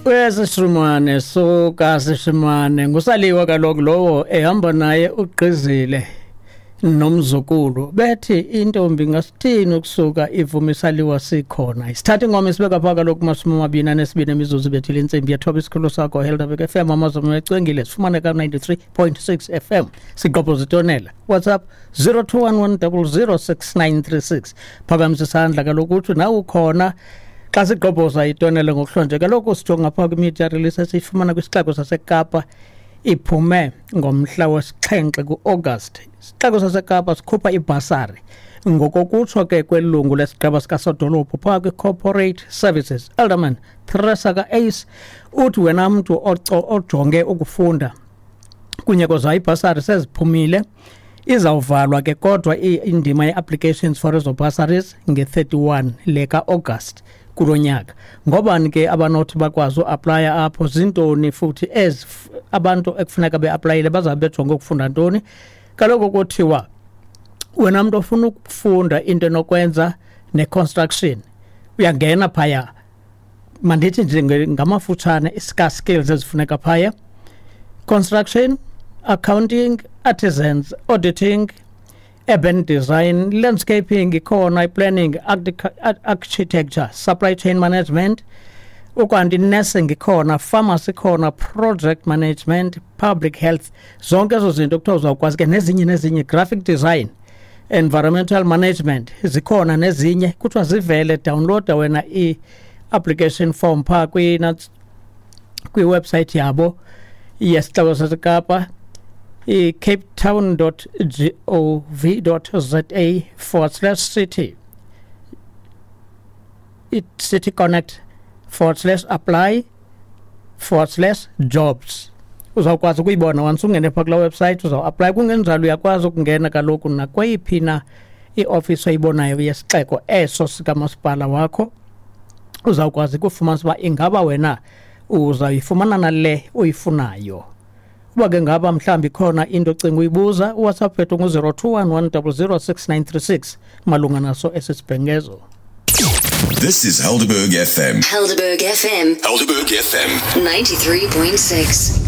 Uyasishimane suka sishimane ngusaliwa kaloku lowo ehamba naye ugqizile nomzukulu bethi intombi ngasithini ukusuka ivuma isaliwa sikhona. Isithatha ingoma isibeka pha kaloku 22 imizuzu bethile intsimbi yethoba. Isikhulu sakho Helderberg FM, amazulu ecwengile, sifumane ka 93.6 FM. Siqopho zitonela WhatsApp 0211006936. Phakamisa isandla kaloku uthi nawe ukhona xa sigqobhoza itonele ngokuhlonje. Kaloku sijonga phaa kwi-media release esiyifumana kwisixeko saseKapa, iphume ngomhla wesixhenxe ku-August. Isixeko saseKapa sikhupha ibhasari ngokokutsho ke kwelungu lesigqeba sikasodolophu phaa kwi-corporate services, Alderman Theresa ka-Ace, uthi wena mntu ojonge ukufunda kunye koza ibhasari seziphumile, izawuvalwa ke kodwa indima ye-applications for ezo bursaries nge-31 le ka-August kulo nyaka. Ngobani ke abanothi bakwazi uaplaya apho? Zintoni futhi ezi abantu ekufuneka beaplayile? Bazawube bejonge ukufunda ntoni? Kaloku kuthiwa wena mntu ofuna ukufunda into enokwenza ne-construction uyangena phaya. Mandithi nje ngamafutshane i-scarce skills ezifuneka phaya: construction, accounting, artisans, auditing, urban design, landscaping ikhona, i-planning, architecture, supply chain management, ukanti nursing ikhona, pharmacy ikhona, project management, public health. Zonke ezo zinto kuthiwa uzawukwazi ke nezinye nezinye, graphic design, environmental management zikhona nezinye. Kuthiwa zivele, downloada wena i-application form phaa kwi-website yabo yesixeko saseKapa, i-capetown.gov.za/city, i-city connect /apply/jobs. Uzawukwazi ukuyibona once ungene phaa kulaa website, uzawuaplaya. Kungenjalo uyakwazi ukungena kaloku nakweyiphi na iofisi oyibonayo yesixeko eso sikamasipala wakho, uzawukwazi ukufumanisa uba ingaba wena uzawuyifumana nale uyifunayo. Uba ke ngaba mhlawumbi ikhona into ocinga uyibuza, uWhatsApp wethu ngu-021 100 6936 malunga naso esi sibhengezo. This is Helderberg FM. Helderberg FM. Helderberg FM. 93.6.